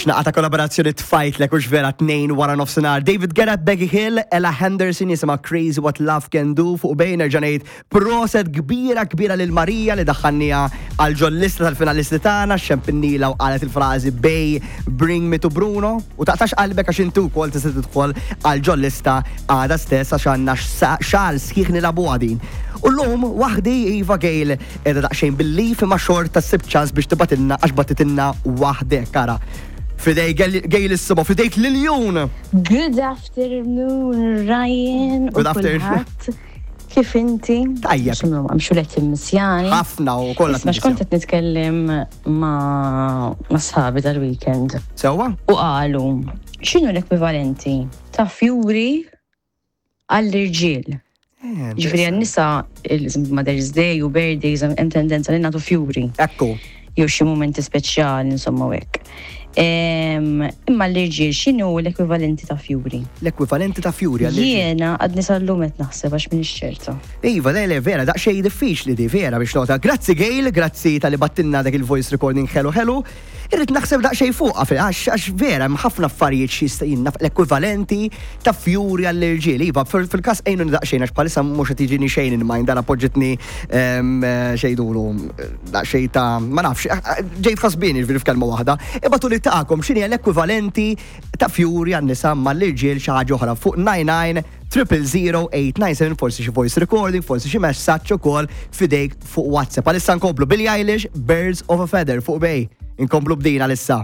X'naqra ta' kollaborazzjoni tfajtlek hux vera 2 wara nofsinhar. David Guetta, Becky Hill, Ella Henderson jisimha Crazy What Love Can Do fuq bejn nerġa' ngħid proset kbira kbira lil Marija li daħħalniha għal ġol-lista tal-finalisti tagħna xempinnila u qalet il-frażi Bay Bring Me to Bruno u taqtax qalbek għax inti wkoll tista' tidħol għal ġol-lista għada stess għax għandna xahar sħiħ nilagħbuha din. U llum waħdi Iva Gail Qiegħda daqsxejn bil-leave imma xorta ssib ċans biex tibgħatilna għax bagħtitilna waħdek. Ara. F'idej Gail is-Suba, f'idejk l-iljun! Good afternoon Ryan u Good afternoon. kulħadd. Kif inti? Tajjeb. X'inhu għamxu qed timmissjani. Ħafna u kollha Isma' x'kont qed nitkellem ma' ma' sħabi dal-weekend. Sewwa? U qalu, x'inhu l-ekwivalenti ta' fjuri għall-irġiel. Eh, Ġifieri għan-nisa il-Mother's Day u birthdays hemm tendenza li nagħtu fjuri. Ekku. Jew xi mumenti speċjali insomma u hekk. Imma l-irġiel x'inhu l-ekwivalenti ta' fjuri? L-ekwivalenti ta' fjuri għall-irġiel. Jiena għadni sal-lum qed naħseb għax m'iniex ċerta. Iva, le, le, vera, daqsxejn diffiċli di, vera biex nota. Grazzi Gail, grazzi tal-li battilna dak il-voice recording ħelu ħelu. Irrid naħseb daqsxejn fuqha fil għax għax vera hemm ħafna affarijiet x'jista' jien naf l-ekwivalenti ta' fjuri għall-irġiel. Iva, fil-każ għinuni daqsxejn għax bħalissa mhux qed jiġini xejn in mind dara poġġitni xejdulu daqsxejn ta' ma nafx, ġejt ħasbien jiġifieri f'kelma waħda. Ibgħatuli tagħkom x'inhi l-ekwivalenti ta' fjuri għan-nisa imma l-irġiel xi ħaġa oħra fuq 99 000 897 forsi xi voice recording, forsi xi messaġġ ukoll f'idejk fuq WhatsApp. Għalissa nkomplu Billie Eilish, Birds of a Feather fuq Bay. Inkomplu b'din għalissa.